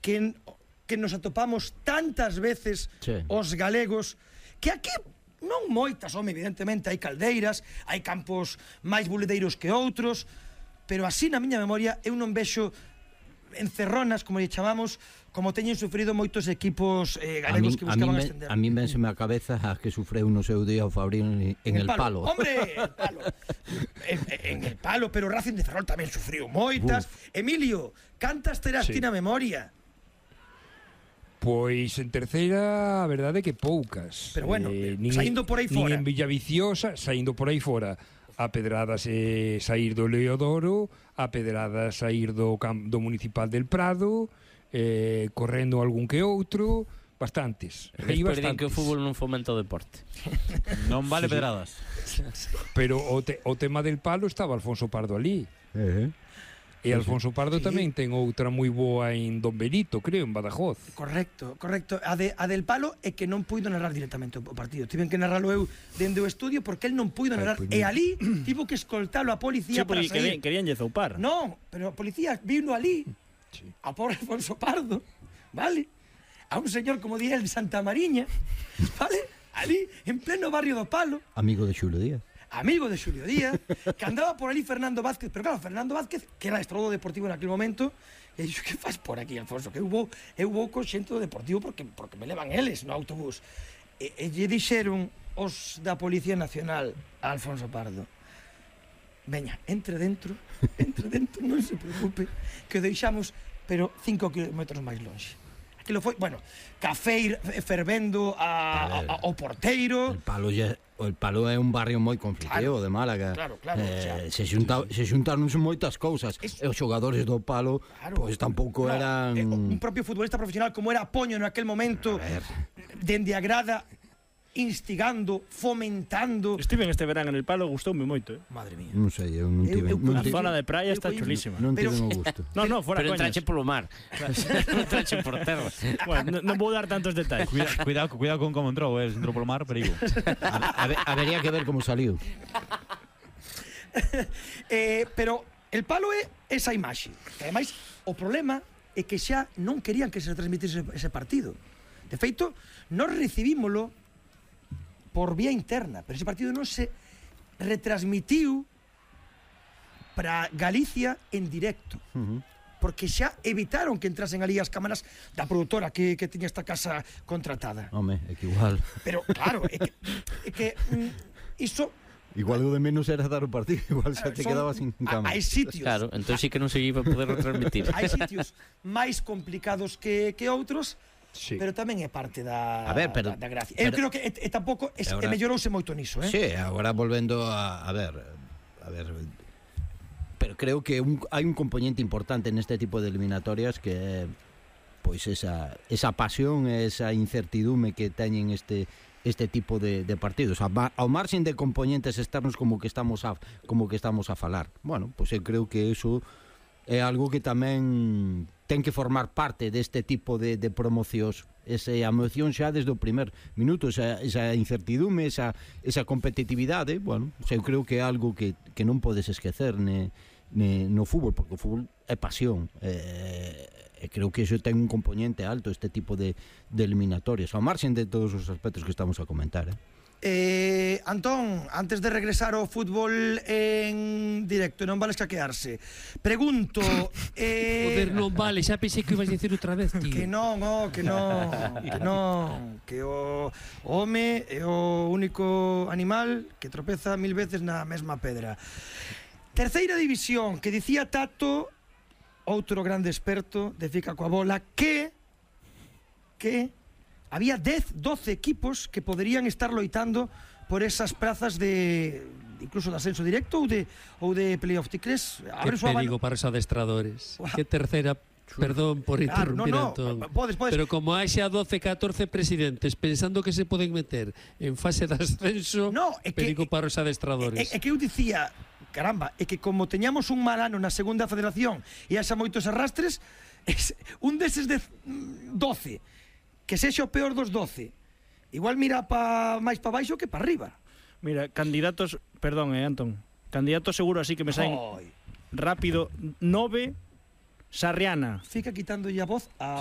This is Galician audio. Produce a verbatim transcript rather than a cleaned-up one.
que, que nos atopamos tantas veces sí. os galegos, que aquí non moitas, home, evidentemente hai caldeiras, hai campos máis buledeiros que outros, pero así na miña memoria eu non vexo encerronas, como lle chamamos, como teñen sufrido moitos equipos eh, galegos que buscaban ascender. A mí vénseme a cabeza a que sufreu no seu día o Fabrino en, en el palo. palo. Hombre, el palo. en, en el palo, pero Racing de Ferrol tamén sufriu moitas. Uf. Emilio, cantas terás sí. ti na memoria? Pois en terceira, a verdade é que poucas. Pero bueno, eh, nin, saindo por aí fora. Nin en Villaviciosa, saindo por aí fora. A pedradas eh, sair do Leodoro, a pedradas sair do, do Municipal del Prado, eh, correndo algún que outro, bastantes. Despois din que o fútbol non fomenta o deporte. Non vale sí, pedradas. Pero o, te, o tema del palo estaba Alfonso Pardo ali. Uh -huh. E Alfonso Pardo sí. tamén ten outra moi boa en Don Benito, creo, en Badajoz. Correcto, correcto. A, de, a del palo é que non puido narrar directamente o partido. Tiven que narralo eu dende o estudio porque el non puido narrar. Ay, e ali tivo que escoltalo a policía sí, para sair. Querían lle zoupar. Non, pero a policía vino ali, sí. a pobre Alfonso Pardo, vale? A un señor, como di el, de Santa Mariña, vale? Ali, en pleno barrio do Palo. Amigo de Xulio Díaz. Amigo de Xulio Díaz, que andaba por ali Fernando Vázquez, pero claro, Fernando Vázquez, que era estrodo deportivo en aquel momento, e dixo, que faz por aquí, Alfonso? Que eu vou, eu vou co xento deportivo porque, porque me levan eles no autobús. E, e lle dixeron os da Policía Nacional a Alfonso Pardo, veña, entre dentro, entre dentro, non se preocupe, que o deixamos, pero cinco kilómetros máis longe. Aquilo foi, bueno, café fervendo a, a, a, ao porteiro. El Palo ya, el Palo é un barrio moi conflictivo claro, de Málaga. Claro, claro. Eh, o sea, se, xunta, se xuntaron moitas cousas. Es, e os xogadores do Palo, claro, pois tampouco no, eran... Eh, un propio futbolista profesional como era Poño naquel momento, dende a grada, instigando, fomentando. Estive en este verán en el Palo, gustoume moito, eh. Madre mía. Non sei, eu non tive. A zona de praia está chulísima. Non tive o gusto. No, no, fora pero coñas. entrache polo mar. Non entrache por terra. Bueno, non vou dar tantos detalles. Cuidado, cuidado, cuidado con como entrou, eh, entrou polo mar, perigo. A, a, habería que ver como saliu. eh, pero el Palo é esa imaxe. Ademais, o problema é que xa non querían que se transmitise ese partido. De feito, nós recibímolo por vía interna, pero ese partido non se retransmitiu para Galicia en directo, uh -huh. porque xa evitaron que entrasen ali as cámaras da produtora que, que tiña esta casa contratada. Home, é que igual. Pero claro, é que, é que mm, iso igual o de menos era dar o partido, igual xa te son, quedabas sin cámara. Hai sitios. Claro, entón sí que non se iba a poder retransmitir. Hai sitios máis complicados que, que outros. Sí. Pero tamén é parte da, a ver, pero, da, da gracia. Eu creo que e, e tampouco es, ahora, e mellorouse moito niso, eh? Sí, agora volvendo a, a ver, a ver, pero creo que un, hai un componente importante neste tipo de eliminatorias que é pois esa esa pasión, esa incertidume que teñen este este tipo de, de partidos, ao marxen de componentes externos como que estamos a como que estamos a falar. Bueno, pois eu creo que eso é algo que tamén ten que formar parte deste tipo de, de promocións, esa emoción xa desde o primer minuto, esa, esa incertidume, esa, esa competitividade. Bueno, eu creo que é algo que, que non podes esquecer ne, ne, no fútbol, porque o fútbol é pasión, e, e creo que iso ten un componente alto, este tipo de, de eliminatorias, ao marxen de todos os aspectos que estamos a comentar, eh? Eh, Antón, antes de regresar ao fútbol en directo, non vale escaquearse. Pregunto, eh... Joder, non vale, xa pensei que ibas a dicir outra vez, tío. Que non, oh, que non, que non, que o home é o único animal que tropeza mil veces na mesma pedra. Terceira división, que dicía Tato, outro grande experto de Fica coa bola, que que había dez, doce equipos que poderían estar loitando por esas prazas de incluso de ascenso directo ou de ou de playoff. Ti crees? Que perigo para os adestradores. Wow. Que terceira, perdón por interrumpir, claro, no, no, Antón. Podes, podes. Pero como hai xa doce, catorce presidentes pensando que se poden meter en fase de ascenso, no, é perigo que, para os adestradores. É, é que eu dicía, caramba, é que como teñamos un mal ano na segunda federación e haxa moitos arrastres, es, un deses de doce que sexa o peor dos doce, igual mira pa, máis pa baixo que pa arriba. Mira, candidatos, perdón, eh, Antón, candidatos seguro así que me saen rápido, nove, Sarriana. Fica quitando a voz a